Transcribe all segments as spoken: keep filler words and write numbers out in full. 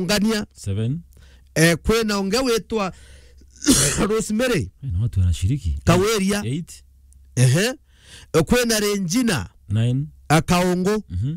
Ungania. Seven. Eh, kwina ungi witwa Rosemary. Eh, na watu wanashiriki. Kaweria. Eight. Ehe. Eh, kwina Regina. Nine. Akaungu. Mhm.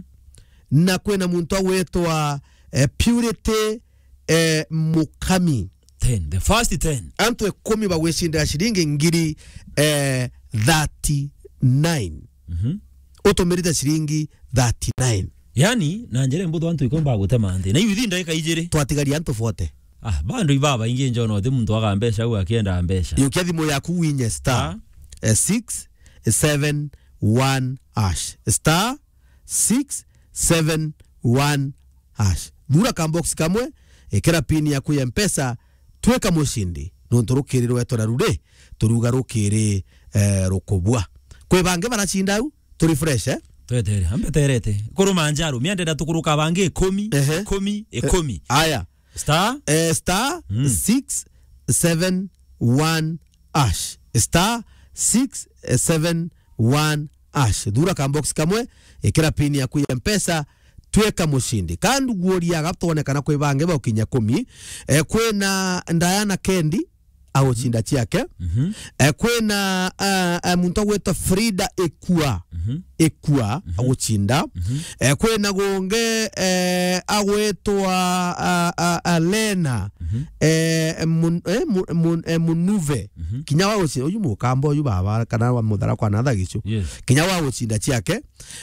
Na kwina muntu agwitwa, eh, Purity, eh, Mukami. Ten. The first ten. Antu ikumi bagwicindira ciringi ngiri, eh, thirty-nine. Mhm. Utumirite ciringi thirty-nine. Yani, na njira mbuthu antu ikomba gutema nthi. Na iu ithi ndagika ijiri. Twatigaria antu forty. Ah, bado ibaba ingi njono, uthi muntu aga mbeca au akienda mbeca. Yukia thimu yaku winye star, ah, eh, six seven one hash. Star six seven one hash. Thura ka box kamwe, ikira pin yaku ya Mpesa, twika mucindi. Nontu rukiri rwetwa na ruri, turuga rukiri, eh, rukubua. Kwi bangi baracinda au, tu refresh, eh? Twetere, ambeterete. Kuruma njaru, miandenda tukuruka bangi ikumi, ehe, ikumi, eh, ikumi. Aya. Star? Eh, star, mm, six seven one hash. Star six seven one hash. Thura ka box kamwe, ikira pin yaku ya Mpesa, twika mucindi. Ka nduguoria gatwonekana kwi bangi baukinya kumi. Eh, kwina Diana Kendi, agucinda ciake. Mhm. Eh, kwina, eh, eh, muntu agwitwa Frida Ikua. Mhm. Ikua, mhm, agucinda. Mhm. Eh, kwina gungi, eh, agwitwa, ah, ah, ah, Lena. Mhm. Eh, mun-, eh, mu-, mun-, eh, Munuve. Mhm. Kinya wa gucinda, uyu mukamba uyu baba, kana wa muthara kwa natha gicu. Yes. Kinya wa gucinda ciake.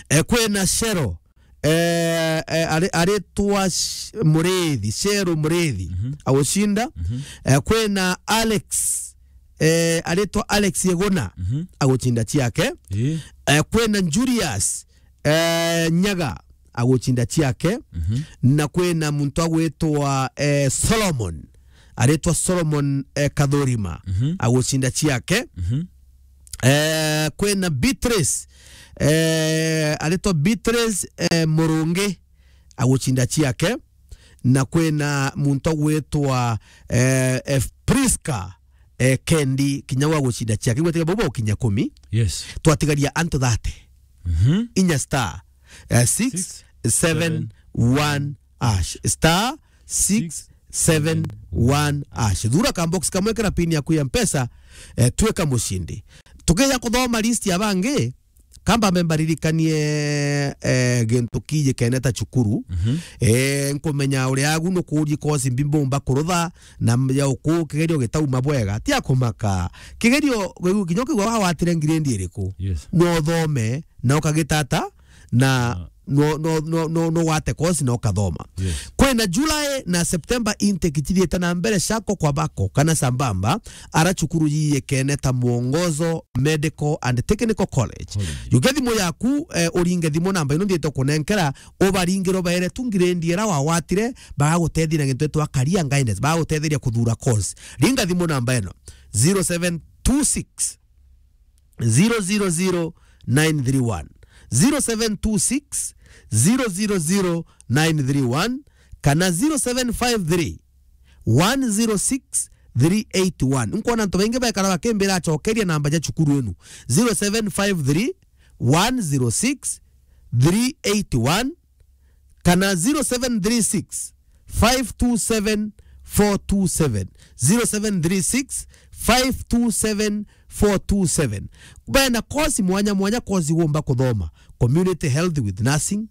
Eh, kwina Shero. Eh, eh, ari-, aritwa Sh-, Murithi, Shero Murithi, mhm, agucinda. Mhm. Eh, kwina Alex, eh, aritwa Alex Iguna, mhm, agucinda ciake. Ii. Eh, kwina Julius, eh, Nyaga, agucinda ciake. Mhm. Na kwina muntu agwitwa, eh, Solomon, aritwa Solomon, eh, Kathurima, mhm, agucinda ciake. Mhm. Eh, kwina Beatrice, eh, aritwa Beatrice, eh, Murungi, agucinda ciake. Na kwina muntu agwitwa, eh, eh, Prisca, eh, Kendi, kinya wa gucinda ciake. Gwetiga bau baukinya kumi. Yes. Twatigaria antu thirty. Mhm. Inya star, eh, six seven one hash. Star six seven one hash. Thura ka box kamwe, kira pin yaku ya Mpesa, eh, twika mucindi. Tukija kuthoma list ya bangi, kamba mbe mbaririkanie, eh, gintu kiji kene ta cukuru. Mhm. Eh, nkumenya uria agu nukuurie kosi mbi mbumba kurutha na ya uku kigerio gitauma bwega. Ti akumaka. Kigerio, kinya ukigwa wawatire ngiredi iriku? Yes. No uthome, na ukagitata, na no, no, no, no, no wate course na ukathoma. Yes. Kwina July na September intake cithiite na mbere cako kwa bako kana sambamba, ara cukuru yiyekene ta Mwongozo Medical and Technical College. College. Yukia thimu yaku, eh, uringe thimu namba ino nthiite kunenkera, ubaringire ubaere tu ngiredi ira wawatire, bagagutethia na gintu gitwa career guidance, bagagutetheria kuthura course. Ringa thimu namba ino, zero seven two six, zero zero zero nine three one, zero seven two six, zero zero zero nine three one, kana zero seven five three, one zero six, three eight one. Nkwona antu baingi baikara bakimbira acokeria namba ja cukuru inu, zero seven five three, one zero six, three eight one, kana zero seven three six, five two seven, four two seven, zero seven three six, five two seven, four two seven. Bena course mwanya mwanya, course womba kuthoma: community health with nursing,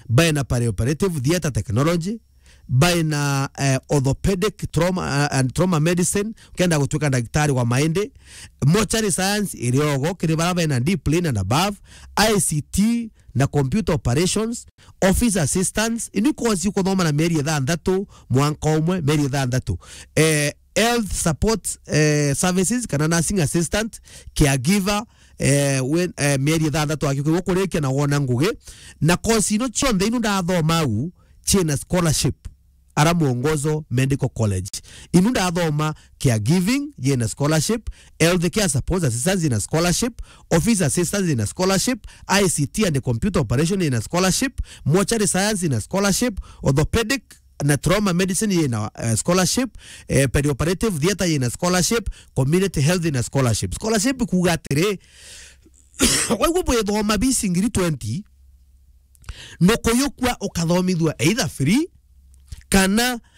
bena perioperative theatre technology, bena, eh, orthopedic trauma, eh, and trauma medicine, ukenda gutwika ndagitari wa maindi, mortuary science iri ogo kiri bara bena D plain and above, I C T, na computer operations, office assistance. Ini course ukuthoma na mieri ithanthatu, mwanka umwe, mieri ithanthatu. Eh, health support, eh, services kana nursing assistant, caregiver, eh, we, eh, mieri ithanthatu aki kurikia na wona ngugi. Na course ino cionthe inu ndathoma au, ciina scholarship ara Mwongozo Medical College. Inu ndathoma caregiving yina scholarship, health care support assistance yina scholarship, office assistance yina scholarship, I C T and computer operation yina scholarship, mortuary science yina scholarship, orthopedic na trauma medicine yina, eh, scholarship, eh, perioperative theatre yina scholarship, community health yina scholarship. Scholarship kuuga atiri, waigua bwithoma bisi ngiri twenty, nukuyukua ukathomithua either free kana